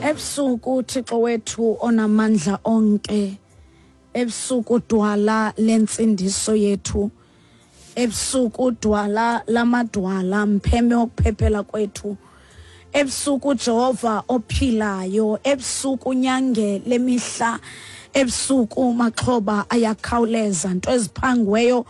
Ebusuku Thixo wethu onamandla onke, ebusuku dwala lentsindiso yethu, ebusuku dwala lamadwala, mpheme wokuphephela kwethu, ebusuku Jehova ophilayo, ebusuku nyange lemihla, ebusuku maxhoba ayakhawuleza, nto eziphangiweyo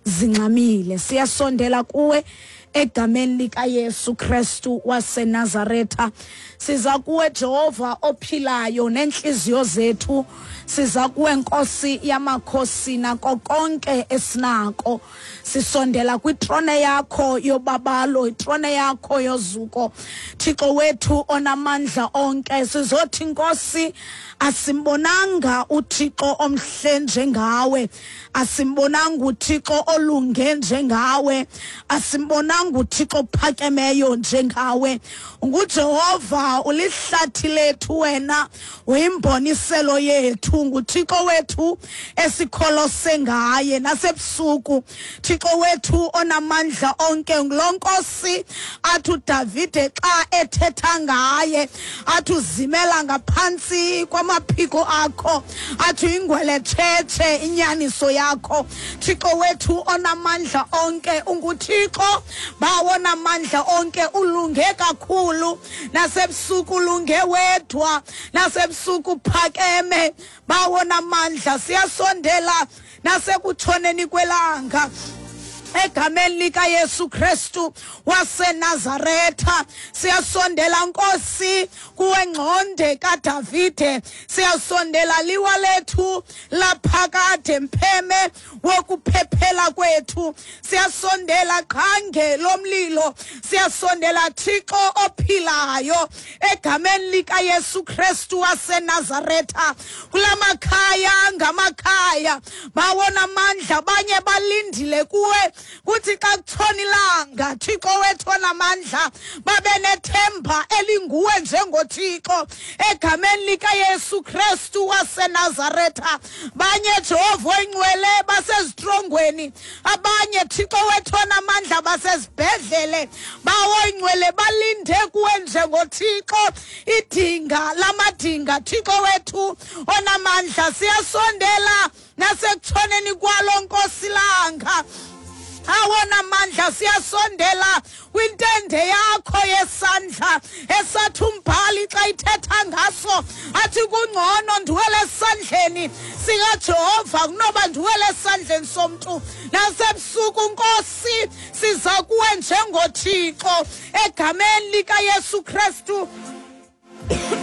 zingxamile. Siyasondela kuwe egameni likaYesu Kristu waseNazaretha. Siza kuwe Jehova ophilayo neenhliziyo zethu, siza kuwe Nkosi yamakhosi nako konke esinako. Sisondela kwitrone yakho yobabalo, itrone yakho yozuko, Thixo wethu onamandla onke. Sizothi Nkosi, asimbonanga uThixo omhle njengawe, asimbonanga uThixo olunge njengawe, asimbonanga uThixo ophakemeyo njengawe. NguJehova, ulihlathi lethu wena, uyimboniselo yethu, nguThixo wethu esikholose ngaye nasebusuku. Thixo wethu onamandla onke, ngulo Nkosi athi uDavide xa ethetha ngaye athi uzimela ngaphantsi kwamaphiko akho, athi uyingweletshetshe inyaniso yakho. Thixo wethu onamandla onke, unguThixo bawo onamandla onke, ulunge kakhulu nasebusuku, ulunge wedwa nasebusuku, phakeme bawo namandla. Siyasondela nasekutshoneni kwelanga egameni likaYesu Kristu waseNazaretha. Siyasondela Nkosi kuwe ngxonde kaDavide, siyasondela liwa lethu laphakade, mpheme wokuphephela kwethu. Siyasondela qhange lomlilo, siyasondela Thixo ophilayo egameni likaYesu Kristu waseNazaretha. Kulamakhaya ngamakhaya bawona amandla, abanye balindile kuwe kuthi xa kutshona ilanga, Thixo wethu onamandla, babe nethemba elinguwe njengoThixo egameni likaYesu Kristu waseNazaretha. Banye Jehova oyingcwele basezitrongweni, abanye Thixo wethu onamandla basezibhedlele, bawo oyingcwele balinde kuwe njengoThixo, idinga lamadinga, Thixo wethu onamandla. Siyasondela nasekutshoneni kwalo Nkosi langa, awona mandla, siyasondela kwintende yakho yesandla esathi umbhali xa ithetha ngaso athi kungcono ndiwele esandleni sikaJehova kunoba ndiwele esandleni somntu. Nasebusuku Nkosi siza kuwe njengoThixo egameni likaYesu Kristu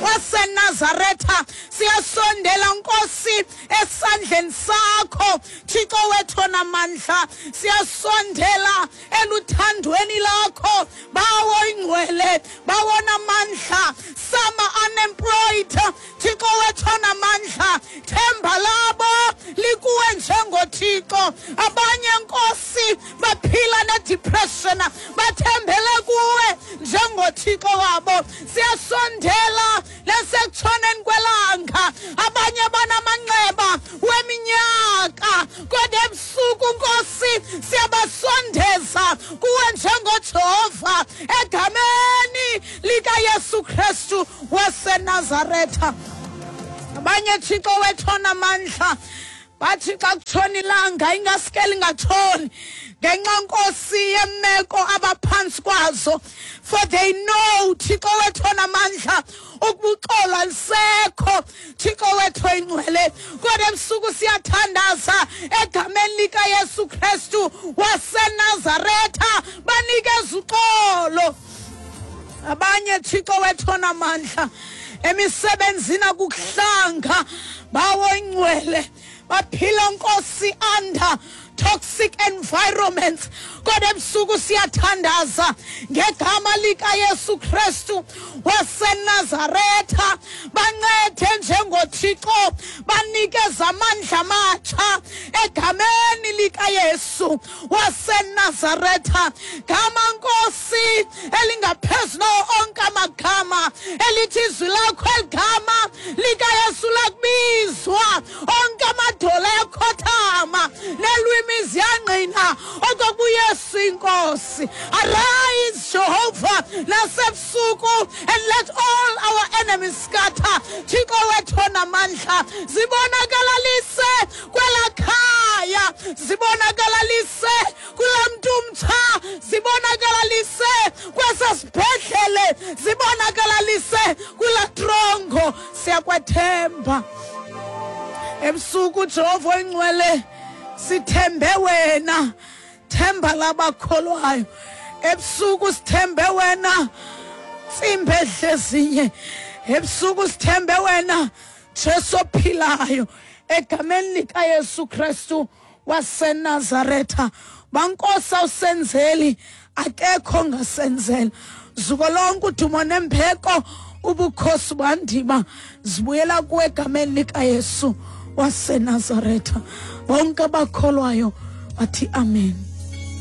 waseNazaretha. Siyasondela Nkosi esandleni sakho, Thixo wethu onamandla, siyasondela eluthandweni lakho, bawo ingcwele, bawo namandla. Some unemployed, Thixo wethu onamandla, themba labo likuwe njengoThixo. Abanye Nkosi baphila ne-depression, bathembele kuwe njengoThixo wabo. Siyasondela nasekutshoneni kwelanga, abanye banamanxeba weminyaka, kodwa ebusuku Nkosi siyabasondeza kuwe njengoJehova egameni likaYesu Kristu waseNazaretha. Abanye Thixo wethu onamandla bathi xa kutshona ilanga ingaske lingatshoni ngenxa Nkosi yemeko abaphantsi kwazo, for they know Thixo wethu onamandla ukuba uxolo alisekho, Thixo wethu oyingcwele. Kodwa ebusuku siyathandaza egameni likaYesu Kristu waseNazaretha, banikeza uxolo. Abanye Thixo wethu onamandla emisebenzini akukuhlanga, bawo ingcwele, baphila Nkosi under toxic environments, kodwa ebusuku siyathandaza ngegama likaYesu Kristu waseNazaretha, bancede njengoThixo, banikeze amandla amatsha egameni likaYesu waseNazaretha. Gama Nkosi elingaphezu nawo onke amagama, elithi izwi lakho eligama likaYesu lakubizwa onke amadola ayakhothama nelwimi ziyangqina okokuba uYesu inkosi. Arise Jehovah. Nasebusuku, and let all our enemies scatter. Thixo wethu onamandla, zibonakalalise kwela khaya, zibonakalalise kulaa mntu mtsha, zibonakalalise kwesa sibhedlele, zibonakalalise kulaa trongo. Siyakwethemba ebusuku, Jehova oyingcwele, sithembe wena, themba labakholwayo. Ebusuku sithembe wena, ntsimbi edlezinye. Ebusuku sithembe wena, Jesu ophilayo, egameni likaYesu Kristu waseNazaretha. Bankosi, awusenzeli, akekho ongasenzela. Zuko lonke, udumo nembeko, ubukhosi bandima zibuyela kuwe egameni likaYesu waseNazaretha. Bonke abakholwayo bathi amen.